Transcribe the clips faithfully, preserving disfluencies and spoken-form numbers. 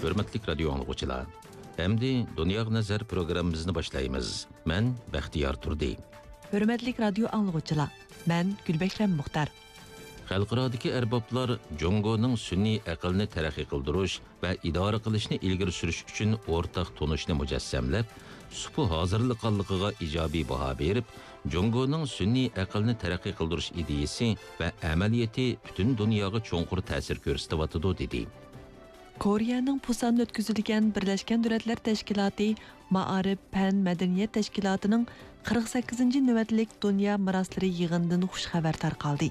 ھۆرمەتلىك رادىيو ئاڭلىغۇچىلار، ئەمدى دۇنياغا نەزەر پروگراممىمىزنى باشلايمىز. مەن بەختىيار تۇردى. ھۆرمەتلىك رادىيو ئاڭلىغۇچىلار، مەن گۈلبەھرەم مۇختار. خەلقئارادىكى ئەربابلار جۇڭگونىڭ سۈنئىي ئەقىلنى تەرەققىي قىلدۇرۇش ۋە ئىدارە قىلىشنى ئىلگىرى سۈرۈش ئۈچۈن ئورتاق تونۇشنى مۇجەسسەملەپ، سۇپا ھازىرلىغانلىقىغا ئىجابىي باھا بېرىپ، جۇڭگونىڭ سۈنئىي ئەقىلنى تەرەققىي قىلدۇرۇش ئىدىيىسى ۋە ئەمەلىيىتى پۈتۈن دۇنياغا چوڭقۇر تەسىر كۆرسىتىۋاتىدۇ، دېدى. كورېيەنىڭ پۇساندا ئۆتكۈزۈلگەن بىرلەشكەن دۆلەتلەر تەشكىلاتى مائارىپ، پەن، مەدەنىيەت تەشكىلاتىنىڭ قىرىق سەككىزىنچى نۆۋەتلىك دۇنيا مىراسلىرى يىغىنىدىن خۇش خەۋەر تارقالدى.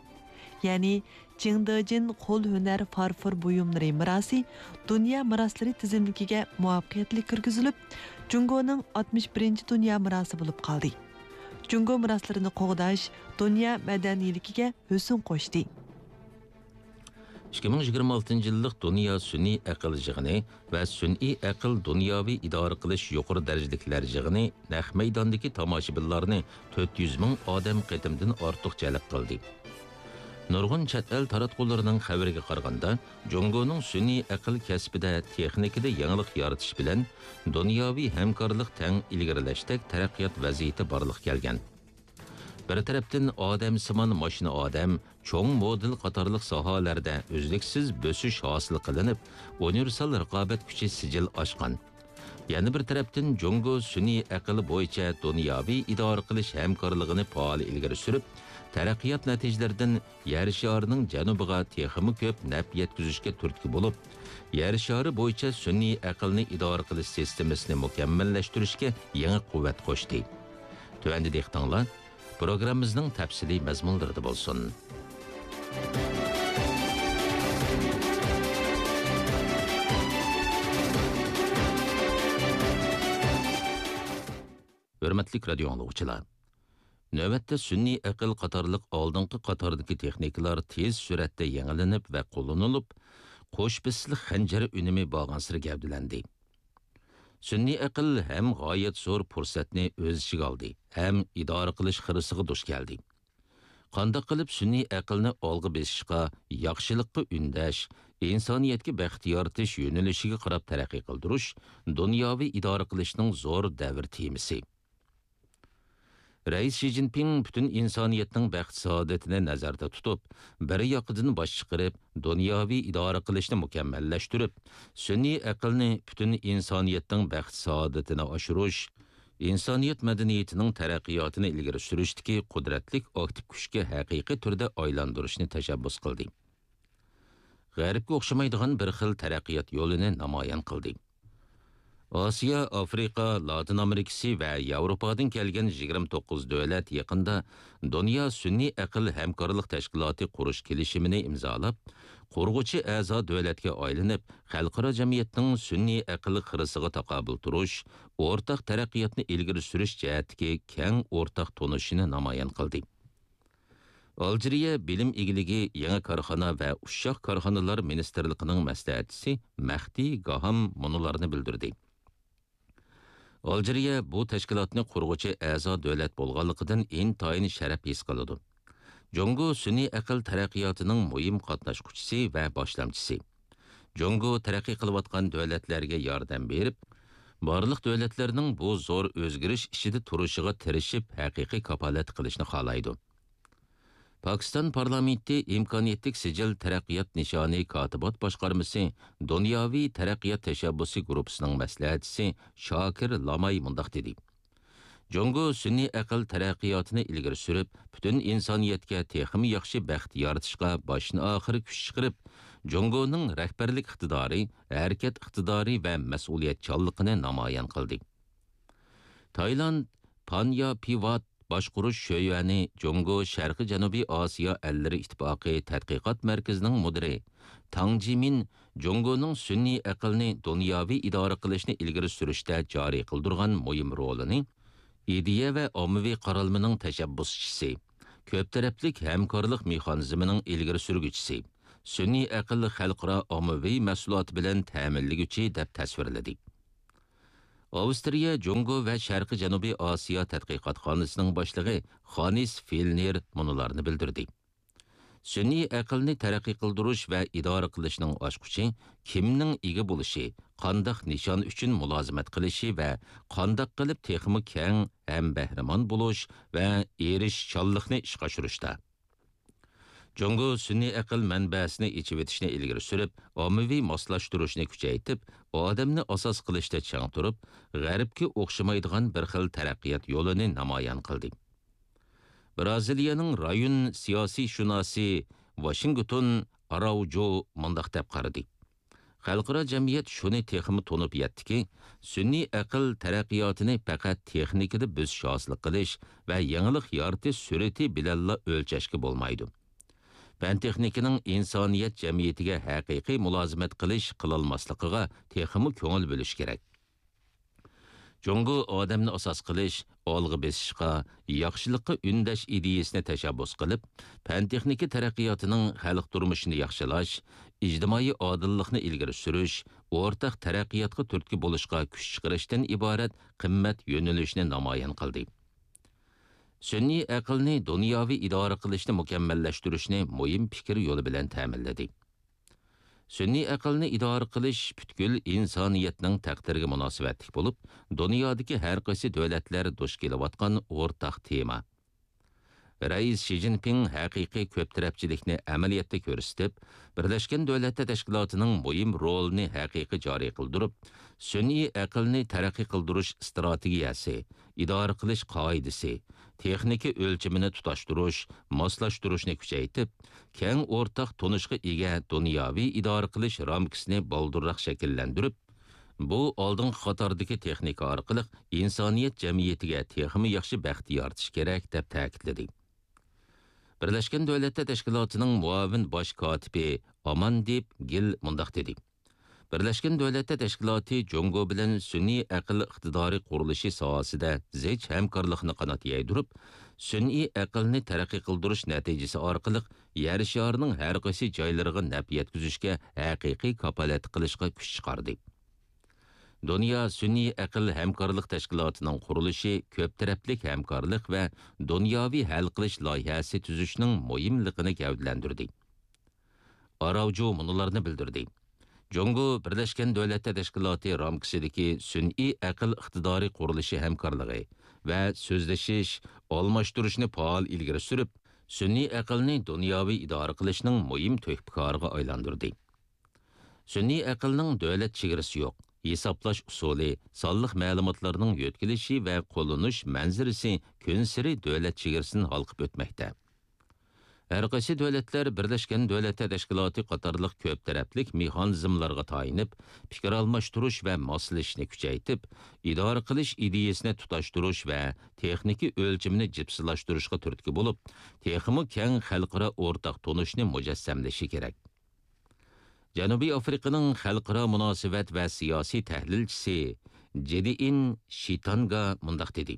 يەنى، چىڭدېجىن قول ھۈنەر فارفور بۇيۇملىرى مىراسى دۇنيا مىراسلىرى تىزىملىكىگە مۇۋەپپەقىيەتلىك كىرگۈزۈلۈپ، جۇڭگونىڭ ئاتمىش بىرىنچى دۇنيا مىراسى بولۇپ قالدى. جۇڭگو مىراسلىرىنى قوغداش دۇنيا مەدەنىيلىكىگە ھۆسن قوشتى. ئىككى مىڭ يىگىرمە ئالتىنچى يىللىق دۇنيا سۈنئىي ئەقىل يىغىنى ۋە سۈنئىي ئەقىل دۇنياۋى ئىدارە قىلىش يۇقىرى دەرىجىلىكلەر يىغىنى نەق مەيداندىكى تاماشىبىنلارنى تۆت يۈز مىڭ ئادەم قېتىمدىن ئارتۇق جەلپ قىلدى. نۇرغۇن چەت ئەل تاراتقۇلىرىنىڭ خەۋىرىگە قارىغاندا، جۇڭگونىڭ سۈنئىي ئەقىل كەسپىدە، تېخنىكىدا يېڭىلىق يارىتىش بىلەن دۇنياۋى ھەمكارلىق تەڭ ئىلگىرىلەشتەك تەرەققىيات ۋەزىيىتى بارلىققا كەلگەن. بىر تەرەپتىن، ئادەمسىمان ماشىنا ئادەم، چوڭ مودېل قاتارلىق ساھەلەردە ئۈزلۈكسىز بۆسۈش ھاسىل قىلىنىپ، ئۇنىۋېرسال رىقابەت كۈچى سىجىل ئاشقان. يەنە بىر تەرەپتىن، جۇڭگو سۈنئىي ئەقىل بويىچە دۇنياۋى ئىدارە قىلىش ھەمكارلىقىنى پائال ئىلگىرى سۈرۈپ، تەرەققىيات نەتىجىلىرىدىن يەر شارىنىڭ جەنۇبىغا تېخىمۇ كۆپ نەپ يەتكۈزۈشكە تۈرتكە بولۇپ، يەر شارى بويىچە سۈنئىي ئەقىلنى ئىدارە قىلىش سىستېمىسىنى مۇكەممەللەشتۈرۈشكە يېڭى قۇۋۋەت قوشتى. تۆۋەندە دىققىتىڭلار پروگراممىمىزنىڭ تەپسىلىي مەزمۇنلىرىدا بولسۇن. ھۆرمەتلىك رادىيو ئاڭلىغۇچىلار! نۆۋەتتە سۈنئىي ئەقىل قاتارلىق ئالدىنقى قاتاردىكى تېخنىكىلار تېز سۈرئەتتە يېڭىلىنىپ ۋە قوللىنىلىپ، قوش بېسىشلىق خەنجەر ئۈنۈمى بارغانسېرى گەۋدىلەندى. سۈنئىي ئەقىل ھەم غايەت زور پۇرسەتنى ئۆز ئىچىگە ئالدى ھەم ئىدارە قىلىش خىرىسىغا دۇچ كەلدى. قانداق قىلىپ سۈنئىي ئەقىلنى ئالغا بېسىشقا، ياخشىلىققا ئۈندەش، ئىنسانىيەتكە بەخت يارىتىش يۆنىلىشىگە قاراپ تەرەققىي قىلدۇرۇش دۇنياۋى ئىدارە قىلىشنىڭ زور دەۋر تېمىسى. رەئىس شى جىنپىڭ پۈتۈن ئىنسانىيەتنىڭ بەخت-سائادىتىنى نەزەردە تۇتۇپ، بىر ياقىدىن باش چىقىرىپ، دۇنياۋى ئىدارە قىلىشنى مۇكەممەللەشتۈرۈپ، سۈنئىي ئەقىلنى پۈتۈن ئىنسانىيەتنىڭ بەخت-سائادىتىنى ئاشۇرۇش، ئىنسانىيەت مەدەنىيىتىنىڭ تەرەققىياتىنى ئىلگىرى سۈرۈشتىكى قۇدرەتلىك ئاكتىپ كۈچكە ھەقىقىي تۈردە ئايلاندۇرۇشنى تەشەببۇس قىلدى. غەربكە ئوخشىمايدىغان بىر خىل تەرەققىيات يولىنى نامايان قىلدى. ئاسىيا، ئافرىقا، لاتىن ئامېرىكىسى ۋە ياۋروپادىن كەلگەن يىگىرمە توققۇز دۆلەت يېقىندا دۇنيا سۈنئىي ئەقىل ھەمكارلىق تەشكىلاتى قۇرۇش كېلىشىمىنى ئىمزالاپ، قۇرغۇچى ئەزا دۆلەتكە ئايلىنىپ، خەلقئارا جەمئىيەتنىڭ سۈنئىي ئەقىل خىرىسىغا تاقابىل تۇرۇش، ئورتاق تەرەققىياتنى ئىلگىرى سۈرۈش جەھەتتىكى كەڭ ئورتاق تونۇشىنى نامايان قىلدى. ئالجىرىيە بىلىم ئىگىلىكى، يېڭى كارخانا ۋە ئۇششاق كارخانىلار مىنىستىرلىقىنىڭ مەسلىھەتچىسى مەھدى گاھام مۇنۇلارنى بىلدۈردى: ئالجىرىيە بۇ تەشكىلاتنى قۇرغۇچى ئەزا دۆلەت بولغانلىقىدىن ئىنتايىن شەرەپ ھېس قىلىدۇ. جۇڭگو سۈنئىي ئەقىل تەرەققىياتىنىڭ مۇھىم قاتناشقۇچىسى ۋە باشلامچىسى. جۇڭگو تەرەققىي قىلىۋاتقان دۆلەتلەرگە ياردەم بېرىپ، بارلىق دۆلەتلەرنىڭ بۇ زور ئۆزگىرىش ئىچىدە تۇرۇشىغا تىرىشىپ، ھەقىقىي كاپالەتلىك قىلىشنى خالايدۇ. پاكىستان پارلامېنتى ئىمكانىيەتلىك سىجىل تەرەققىيات نىشانى كاتىبات باشقارمىسى دۇنياۋى تەرەققىيات تەشەببۇسى گۇرۇپپىسىنىڭ مەسلىھەتچىسى شاكىر لاماي مۇنداق دېدى: جۇڭگو سۈنئىي ئەقىل تەرەققىياتىنى ئىلگىرى سۈرۈپ، پۈتۈن ئىنسانىيەتكە تېخىمۇ ياخشى بەخت يارىتىشقا باشتىن-ئاخىر كۈچ چىقىرىپ، جۇڭگونىڭ رەھبەرلىك ئىقتىدارى، ھەرىكەت ئىقتىدارى ۋە مەسئۇلىيەتچانلىقىنى نامايان قىلدى. تايلاند پانيا پىۋات باشقۇرۇش شۆيۈەنى جۇڭگو شەرقىي جەنۇبىي ئاسىيا ئەللىرى ئىتتىپاقى تەتقىقات مەركىزىنىڭ مۇدىرى تاڭ جىمىن جۇڭگونىڭ سۈنئىي ئەقىلنى دۇنياۋى ئىدارە قىلىشنى ئىلگىرى سۈرۈشتە جارى قىلدۇرغان مۇھىم رولىنى ئىدىيە ۋە ئاممىۋى قارالمىنىڭ تەشەببۇسچىسى، كۆپ تەرەپلىك ھەمكارلىق مېخانىزمىنىڭ ئىلگىرى سۈرگۈچىسى، سۈنئىي ئەقىل خەلقئارا ئاممىۋى مەھسۇلاتى بىلەن تەمىنلىگۈچى دەپ تەسۋىرلىدى. ئاۋسترىيە جۇڭگو ۋە شەرقىي جەنۇبىي ئاسىيا تەتقىقاتخانىسىنىڭ باشلىقى خانس فېلنېر مۇنۇلارنى بىلدۈردى: سۈنئىي ئەقىلنى تەرەققىي قىلدۇرۇش ۋە ئىدارە قىلىشنىڭ ئاچقۇچى كىمنىڭ ئىگە بولۇشى، قانداق نىشان ئۈچۈن مۇلازىمەت قىلىشى ۋە قانداق قىلىپ تېخىمۇ كەڭ ھەمبەھرىمەن بولۇش ۋە ئېرىشىشچانلىقنى ئىشقا ئاشۇرۇشتا. جۇڭگو سۈنئىي ئەقىل مەنبەسىنى ئېچىۋېتىشنى ئىلگىرى سۈرۈپ، ئاممىۋى ماسلاشتۇرۇشنى كۈچەيتىپ، ئادەمنى ئاساس قىلىشتا چىڭ تۇرۇپ، غەربكە ئوخشىمايدىغان بىر خىل تەرەققىيات يولىنى نامايان قىلدى. بىرازىلىيەنىڭ رايون سىياسىيشۇناسى ۋاشىنگتون ئاراۋجو مۇنداق دەپ قارىدى: خەلقئارا جەمئىيەت شۇنى تېخىمۇ تونۇپ يەتتىكى، سۈنئىي ئەقىل تەرەققىياتىنى پەقەت تېخنىكىدا بۆسۈش ھاسىل قىلىش ۋە يېڭىلىق يارىتىش سۈرئىتى بىلەنلا ئۆلچەشكە بولمايدۇ. پەن-تېخنىكىنىڭ ئىنسانىيەت جەمئىيىتىگە ھەقىقىي مۇلازىمەت قىلىش، قىلالماسلىقىغا تېخىمۇ كۆڭۈل بۆلۈش كېرەك. جۇڭگو ئادەمنى ئاساس قىلىش، ئالغا بېسىشقا، ياخشىلىققا ئۈندەش ئىدىيەسىنى تەشەببۇس قىلىپ، پەن-تېخنىكا تەرەققىياتىنىڭ خەلق تۇرمۇشىنى ياخشىلاش، ئىجتىمائىي ئادىللىقنى ئىلگىرى سۈرۈش، ئورتاق تەرەققىياتقا تۈرتكە بولۇشقا كۈچ چىقىرىشتىن ئىبارەت قىممەت يۆنىلىشىنى نامايان قىلدى. سۈنئىي ئەقىلنى دۇنياۋى ئىدارە قىلىشنى مۇكەممەللەشتۈرۈشنى مۇھىم پىكىر يولى بىلەن تەمىنلىدى. سۈنئىي ئەقىلنى ئىدارە قىلىش پۈتكۈل ئىنسانىيەتنىڭ تەقدىرىگە مۇناسىۋەتلىك بولۇپ، دۇنيادىكى ھەر قايسى دۆلەتلەر دۇچ كېلىۋاتقان ئورتاق تېما. رەئىس شى جىنپىڭ ھەقىقىي كۆپ تەرەپچىلىكنى ئەمەلىيەتتە كۆرسىتىپ، بىرلەشكەن دۆلەتلەر تەشكىلاتىنىڭ مۇھىم رولىنى ھەقىقىي جارى قىلدۇرۇپ، سۈنئىي ئەقىلنى تەرەققىي قىلدۇرۇش ئىستراتېگىيەسى، ئىدارە قىلىش قائىدىسى، تېخنىكا ئۆلچىمىنى تۇتاشتۇرۇش، ماسلاشتۇرۇشنى كۈچەيتىپ، كەڭ ئورتاق تونۇشقا ئىگە دۇنياۋى ئىدارە قىلىش رامكىسىنى بالدۇرراق شەكىللەندۈرۈپ، بۇ ئالدىنقى قاتاردىكى تېخنىكا ئارقىلىق ئىنسانىيەت جەمئىيىتىگە تېخىمۇ ياخشى بەخت يارىتىش كېرەك، دەپ تەكىتلىدى. بىرلەشكەن دۆلەتلەر تەشكىلاتىنىڭ مۇئاۋىن باش كاتىپى ئاماندىپ گىل مۇنداق دېدى: بىرلەشكەن دۆلەتلەر تەشكىلاتى جۇڭگو بىلەن سۈنئىي ئەقىل ئىقتىدارى قۇرۇلۇشى ساھەسىدە زىچ ھەمكارلىقنى قانات يايدۇرۇپ، سۈنئىي ئەقىلنى تەرەققىي قىلدۇرۇش نەتىجىسى ئارقىلىق يەر شارىنىڭ ھەر قايسى جايلىرىغا نەپ يەتكۈزۈشكە ھەقىقىي كاپالەتلىك قىلىشقا كۈچ چىقاردى. دۇنيا سۈنئىي ئەقىل ھەمكارلىق تەشكىلاتىنىڭ قۇرۇلۇشى كۆپ تەرەپلىك ھەمكارلىق ۋە دۇنياۋى ھەل قىلىش لايىھەسى تۈزۈشنىڭ مۇھىملىقىنى گەۋدىلەندۈردى. ئاراۋجۇ مۇنۇلارنى بىلدۈردى: جۇڭگو بىرلەشكەن دۆلەتلەر تەشكىلاتى رامكىسىدىكى سۈنئىي ئەقىل ئىقتىدارى قۇرۇلۇشى ھەمكارلىقى ۋە سۆزلىشىش، ئالماشتۇرۇشنى پائال ئىلگىرى سۈرۈپ، سۈنئىي ئەقىلنى دۇنياۋى ئىدارە قىلىشنىڭ مۇھىم تۆھپىكارىغا ئايلاندۇردى. سۈنئىي ئەقىلنىڭ دۆلەت چېگرىسى يوق، ھېسابلاش ئۇسۇلى، سانلىق مەلۇماتلارنىڭ يۆتكىلىشى ۋە قوللىنىش مەنزىرىسى كۈنسېرى دۆلەت چېگرىسىنى ھالقىپ ئۆتمەكتە. ھەر قايسى دۆلەتلەر بىرلەشكەن دۆلەتلەر تەشكىلاتى قاتارلىق كۆپ تەرەپلىك مېخانىزملارغا تايىنىپ، پىكىر ئالماشتۇرۇش ۋە ماسلىشىشنى كۈچەيتىپ، ئىدارە قىلىش ئىدىيەسىنى تۇتاشتۇرۇش ۋە تېخنىكا ئۆلچىمىنى جىپسىلاشتۇرۇشقا تۈرتكە بولۇپ، تېخىمۇ كەڭ خەلقئارا ئورتاق تونۇشنى مۇجەسسەملىشى كېرەك. جەنۇبىي ئافرىقىنىڭ خەلقئارا مۇناسىۋەت ۋە سىياسىي تەھلىلچىسى جېدىئىن شىتانگا مۇنداق دېدى: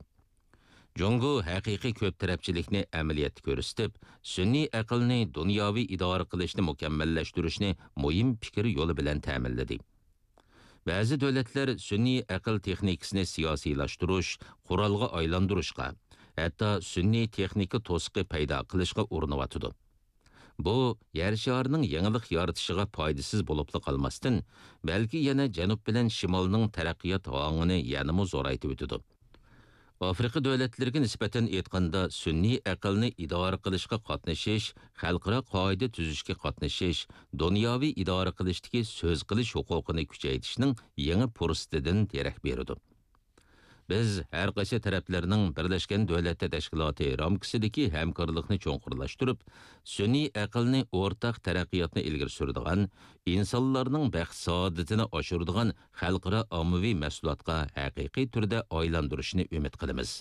جۇڭگو ھەقىقىي كۆپ تەرەپچىلىكنى ئەمەلىيەتتە كۆرسىتىپ، سۈنئىي ئەقىلنى دۇنياۋى ئىدارە قىلىشنى مۇكەممەللەشتۈرۈشنى مۇھىم پىكىر يولى بىلەن تەمىنلىدى. بەزى دۆلەتلەر سۈنئىي ئەقىل تېخنىكىسىنى سىياسىيلاشتۇرۇش، قورالغا ئايلاندۇرۇشقا، ھەتتا سۈنئىي تېخنىكا توسۇقى پەيدا قىلىشقا ئۇرۇنۇۋاتىدۇ. بۇ يەر شارىنىڭ يېڭىلىق يارىتىشىغا پايدىسىز بولۇپلا قالماستىن، بەلكى يەنە جەنۇب بىلەن شىمالنىڭ تەرەققىيات ھاڭىنى يەنىمۇ زورايتىۋېتىدۇ. ئافرىقا دۆلەتلىرىگە نىسبەتەن ئېيتقاندا، سۈنئىي ئەقىلنى ئىدارە قىلىشقا قاتنىشىش، خەلقئارا قائىدە تۈزۈشكە قاتنىشىش، دۇنياۋى ئىدارە قىلىشتىكى سۆز قىلىش ھوقۇقىنى كۈچەيتىشنىڭ يېڭى پۇرسىتىدىن دېرەك بېرىدۇ. بىز ھەر قايسى تەرەپلەرنىڭ بىرلەشكەن دۆلەتلەر تەشكىلاتى رامكىسىدىكى ھەمكارلىقنى چوڭقۇرلاشتۇرۇپ، سۈنئىي ئەقىلنى ئورتاق تەرەققىياتنى ئىلگىرى سۈرىدىغان، ئىنسانلارنىڭ بەخت-سائادىتىنى ئاشۇرىدىغان خەلقئارا ئاممىۋى مەھسۇلاتقا ھەقىقىي تۈردە ئايلاندۇرۇشىنى ئۈمىد قىلىمىز.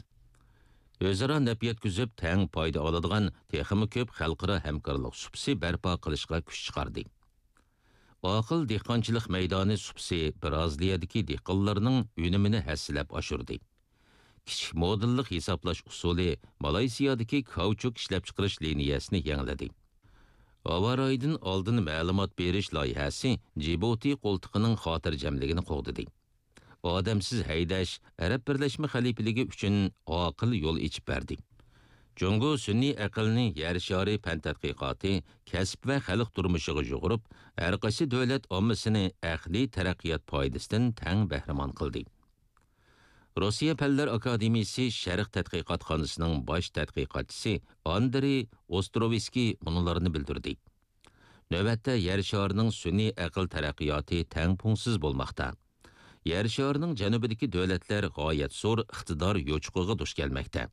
ئۆزئارا نەپ يەتكۈزۈپ، تەڭ پايدا ئالىدىغان تېخىمۇ كۆپ خەلقئارا ھەمكارلىق سۇپىسى بەرپا قىلىشقا كۈچ چىقاردى. ئاقىل دېھقانچىلىق مەيدانى سۇپىسى بىرازىلىيەدىكى دېھقانلارنىڭ ئۈنۈمىنى ھەسسىلەپ ئاشۇردى. كىچىك مودېللىق ھېسابلاش ئۇسۇلى مالايسىيادىكى كاۋچۇك ئىشلەپچىقىرىش لىنىيەسىنى يېڭىلىدى. ھاۋا رايىدىن ئالدىن مەلۇمات بېرىش لايىھەسى جىبۇتى قولتۇقىنىڭ خاتىرجەملىكىنى قوغدىدى. ئادەمسىز ھەيدەش ئەرەب بىرلەشمە خەلىپىلىكى ئۈچۈن ئاقىل يول ئېچىپ بەردى. جۇڭگو سۈنئىي ئەقىلنى يەر شارى پەن تەتقىقاتى، كەسىپ ۋە خەلق تۇرمۇشىغا يۇغۇرۇپ، ھەرقايسى دۆلەت ئاممىسىنى ئەقلىي تەرەققىيات پايدىسىدىن تەڭ بەھرىمەن قىلدى. روسىيە پەنلەر ئاكادېمىيىسى شەرق تەتقىقاتخانىسىنىڭ باش تەتقىقاتچىسى ئاندرېي ئوستروۋسكىي مۇنۇلارنى بىلدۈردى. نۆۋەتتە يەر شارىنىڭ سۈنئىي ئەقىل تەرەققىياتى تەڭپۇڭسىز بولماقتا. يەر شارىنىڭ جەنۇبىدىكى دۆلەتلەر غايەت زور ئىقتىدار يوچۇقىغا دۇچ كەلمەكتە.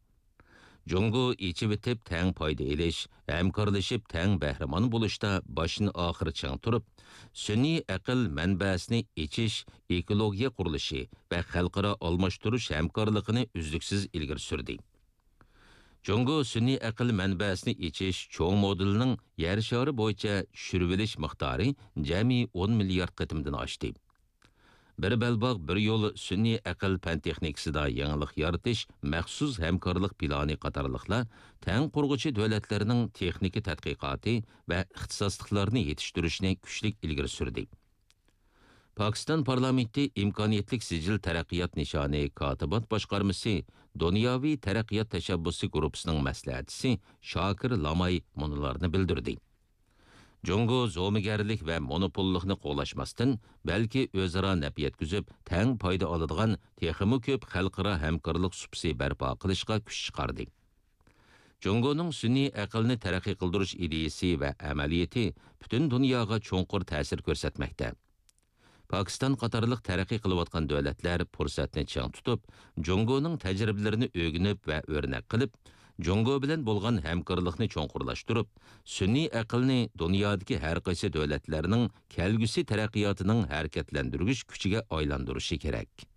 جۇڭگو ئېچىۋېتىپ تەڭ پايدا ئېلىش، ھەمكارلىشىپ تەڭ بەھرىمەن بولۇشتا باشتىن ئاخىر چىڭ تۇرۇپ، سۈنئىي ئەقىل مەنبەسىنى ئېچىش، ئېكولوگىيە قۇرۇلۇشى ۋە خەلقئارا ئالماشتۇرۇش ھەمكارلىقىنى ئۈزلۈكسىز ئىلگىرى سۈردى. جۇڭگو سۈنئىي ئەقىل مەنبەسىنى ئېچىش چوڭ مودېلىنىڭ يەر شارى بويىچە چۈشۈرۈۋېلىش مىقدارى جەمئىي ئون مىليارد قېتىمدىن ئاشتى. بىر بەلباغ، بىر يول سۈنئىي ئەقىل پەن تېخنىكىسىدا يېڭىلىق يارىتىش مەخسۇس ھەمكارلىق پىلانى قاتارلىقلار تەڭ قۇرغۇچى دۆلەتلەرنىڭ تېخنىكا تەتقىقاتى ۋە ئىختىساسلىقلارنى يېتىشتۈرۈشنى كۈچلۈك ئىلگىرى سۈردى. پاكىستان پارلامېنتى ئىمكانىيەتلىك سىجىل تەرەققىيات نىشانى كاتىبات باشقارمىسى دۇنياۋى تەرەققىيات تەشەببۇسى گۇرۇپپىسىنىڭ مەسلىھەتچىسى شاكىر لاماي مۇنۇلارنى بىلدۈردى. جۇڭگو زومىگەرلىك ۋە مونوپوللۇقنى قوغلاشماستىن، بەلكى ئۆزئارا نەپ يەتكۈزۈپ، تەڭ پايدا ئالىدىغان تېخىمۇ كۆپ خەلقئارا ھەمكارلىق سۇپىسى بەرپا قىلىشقا كۈچ چىقاردى. جۇڭگونىڭ سۈنئىي ئەقىلنى تەرەققىي قىلدۇرۇش ئىدىيىسى ۋە ئەمەلىيىتى پۈتۈن دۇنياغا چوڭقۇر تەسىر كۆرسەتمەكتە. پاكىستان قاتارلىق تەرەققىي قىلىۋاتقان دۆلەتلەر پۇرسەتنى چىڭ تۇتۇپ، جۇڭگونىڭ تەجرىبىلىرىنى ئۆگىنىپ ۋە ئۆرنەك قىلىپ، جۇڭگو بىلەن بولغان ھەمكارلىقنى چوڭقۇرلاشتۇرۇپ، سۈنئىي ئەقىلنى دۇنيادىكى ھەرقايسى دۆلەتلەرنىڭ كەلگۈسى تەرەققىياتىنىڭ ھەرىكەتلەندۈرگۈچ كۈچىگە ئايلاندۇرۇشى كېرەك.